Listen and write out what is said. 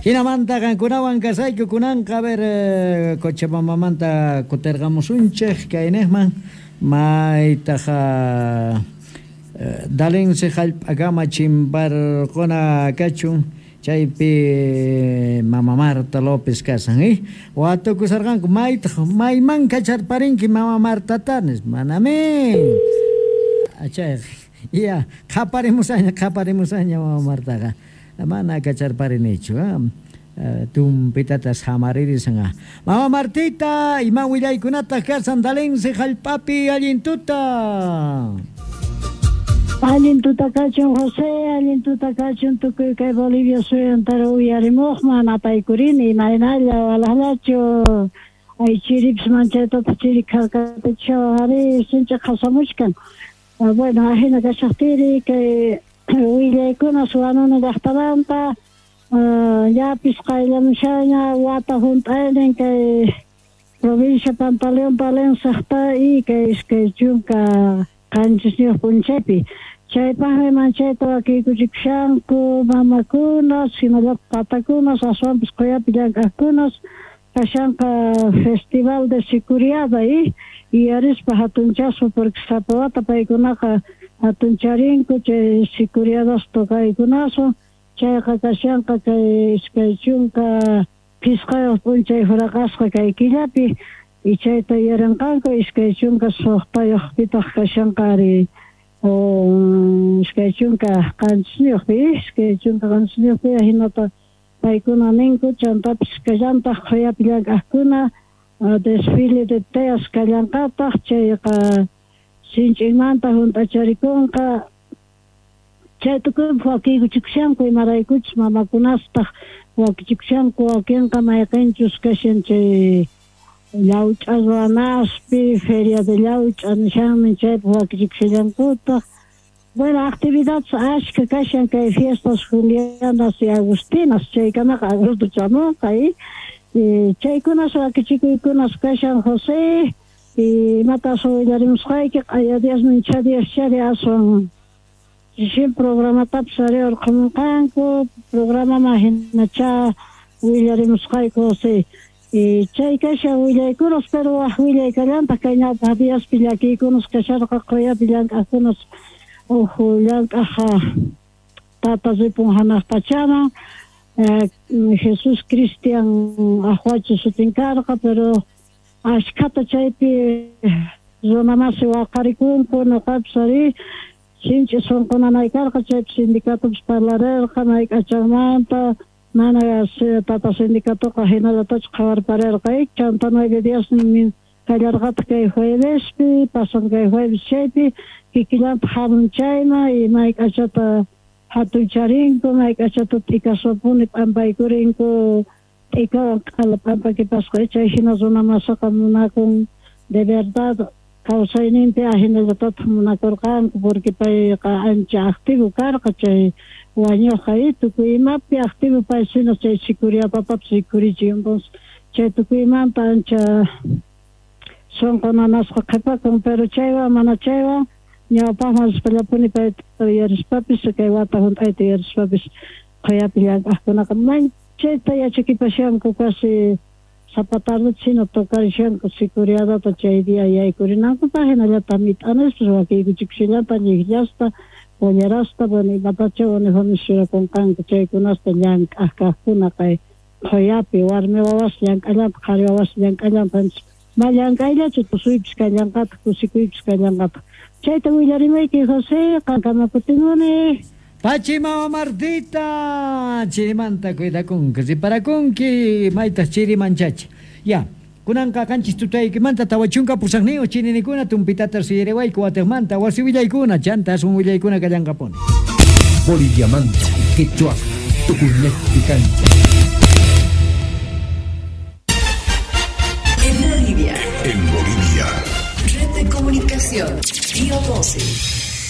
Jinamanta qankunawan kasayku kunanqa, a ver, Cochabambamanta kutirqamusunchej kaynejman, maytaj Dalense jallp'akama chimparqona kachun, chaypi mama Marta López kasan, watukusarqanku, maytaj mayman kacharparinki mama Martata, nispa, manamin chayqa, ya qhaparimusaña, qhaparimusaña mama Martaqa, mana kacharparinichu, tumpitata samaririsan. Mama Martita, ima willaykunataq kasan Dalense jallp'api? Allin tuta. Allin tuta kachun, José, allin tuta kachun tukuy kay Bolivia suyuntara uyarimuqman apaykurini, imaynalla, walaqllachu? Ay, chiripis manchaytataq chiri kharkatichashawan ari, sinch'i qhasamuchkan. Bueno, ajina kashaqtiri kay willaykuna Huanuni llaqtamanta, llapis qayllamushaña wata hunt'aynin kay provincia Pantaleón Palencia y kay 27 p'unchaypi. Chaypaqmi manchayta wakiykuchikushanku mamakunas, hinallataq tatakunas, aswanpis quyapi llank'aqkunas, kashanqa Festival de Sicuriada y yuyarispa hatunchaspa, porque sapa wata paykunaqa hatuncharinku chay sicuriadas tocaykunaswan. Chayqa kashanqa kay 25 p'unchay huraqasqa kay killapi, y chayta yuyarinqanku 26pitaq kashanqa ari 27pi, 27pi hinata paykuna ninku. Chantapis kallantaq qhuyapi llank'aqkuna desfile de teas kallanqataq, chayqa sinch'inmanta hunt'acharikunqa. Chay tukuypaq wakiykuchikushanku, imaraykuchus mamakunastaq wakichikushanku, wakinqa mayqinchus kashan chay llawch'a ruwanaspi, feria de llawch'a nishanmi, chaypaq wakichikushallankutaq. Bueno, actividades ashka kashan kay fiestas Julianas y Agustinas, chaykamaqa agosto chamunqa, y chaykunas wakichikuykunas kashan, José. Y imatas willarimusqayki, q'aya diasnin cha dias chari aswan chishin programatapis ari urqhamunqanku, programaman hinacha willarimusqayku, José. Y chay kashan willaykunas, pero waj willay kallantaq kay ñawpaq diaspi llakiykunas kasharqa quyapi llank'aqkunas, uj llank'aq tata ripun hanaq pachaman, Jesús Cristian Ajuachi sutin karqa, pero ashkhata chaypi runamasi waqarikunku. Nuqapis ari sinch'i sunqu nanay karqa chaypi, sindicatopis parlarirqa mayk'achanmanta, mana tata sindicatoqa hinallatachu qhawarparerqa. Chanta 9 diasnin kallarqataq kay juevespi, pasan kay jueves, chaypi kikillantaq hamun chayman, y mayk'achata hatuncharinku, mayk'achata t'ikaswapuni p'ampaykurinku, t'ikawan q'ala p'ampakipasqa. Chay hina runa masaqa munakun de verdad kawsayninpi, ahinallatataq munakurqanku, porque payqa ancha activo karqa chay wañuqqa, y tukuy imapi activo pay, sino chay sicuriatatapis rikhurichin. Entonces chay tukuymanta ancha sunqu nanasqa qhipakun, pero chaywan mana chaywan ñawpaqman rispallapuni payta yuyarispapis, kay wata hunt'ayta yuyarispapis, qhuyapi llank'aqkunaqa manchayta yachakipashanku, casi sapa tardeta hina tocarishanku sicuriadata chay día yaykurinankupaq, hinallataq mit'anispas wakiykuchikushallanta llikllasta, pollerasta, bueno, imatacha uniformes churakunqanku, chaykunasta llank'aq kaqkuna kay qhuyapi, warmi wawas llank'allantaq, qhari wawas llank'allantaq, ma llank'ayllachu, tusuypis kallanqataq, kusikuypis kallanqataq. Chayta willarimayki, José, qankama kutimuni. Pachi mama Martita, chirimanta cuidakunki, riparakunki, maytaq chiri manchachi. Ya, kunanqa 7 tutaykimanta 48 chininikuna tumpitata suyariwayku watiqmanta wasi willaykuna, chanta aswan willaykuna kallanqapuni. Boliviamanta, Quechua, Tucumán, Cancha. En Bolivia. En Bolivia. Red de Comunicación, Río 12.